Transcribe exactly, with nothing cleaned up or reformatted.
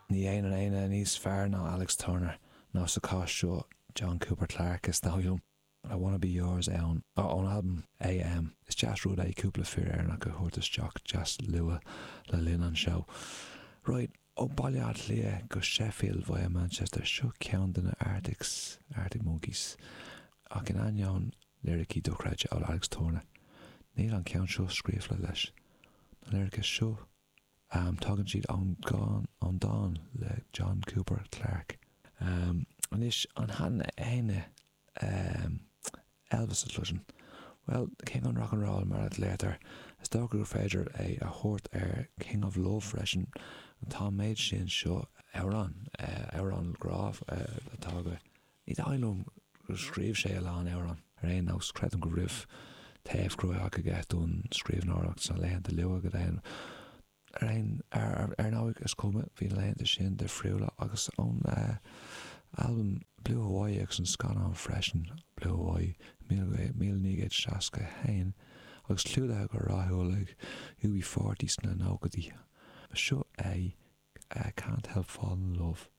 Ní dhéanann éinne níos fearr ná Alex Turner nó sa chás seo John Cooper Clarke is dóigh liom. I Wanna Be Yours ann ón albam AM. Is deas rud é cúpla fear Éireannach a thabhairt isteach deas luath le linn an seó. Right, ó Baile Átha Cliath go Sheffield via Manchester seo ceann de na Arctics, Arctic Monkeys. Ach in ainneoin liricí dochreidte ó Alex Turner. Níl an ceann seo scríofa leis. Na liricí seo um, tagann siad ón ón dán le John Cooper Clarke. Um, anois an han éine um, Elvis a chloiseann. Well, King an Rock and Roll mar a léirtar, is dócha gur féidir é a thabhairt ar King of Love freisin tá méid sin seo amhrán amhrán grá atá go. Ní dóigh gur scríobh sé a lán amhrán ar aon nós creidim go raibh taobh cruach aige don scríbhneoireacht sna laethanta luath go dtéan. Ar aon ar ndóigh is cuma bhí na laethanta sin difriúla agus ón albam Blue Hawaii agus an scannán freisin Blue Hawaii míle naoi gcéad seasca haon agus clúdaithe go rathúil ag U B forty sna nóchaidí. Seo é Can't Help Falling in Love.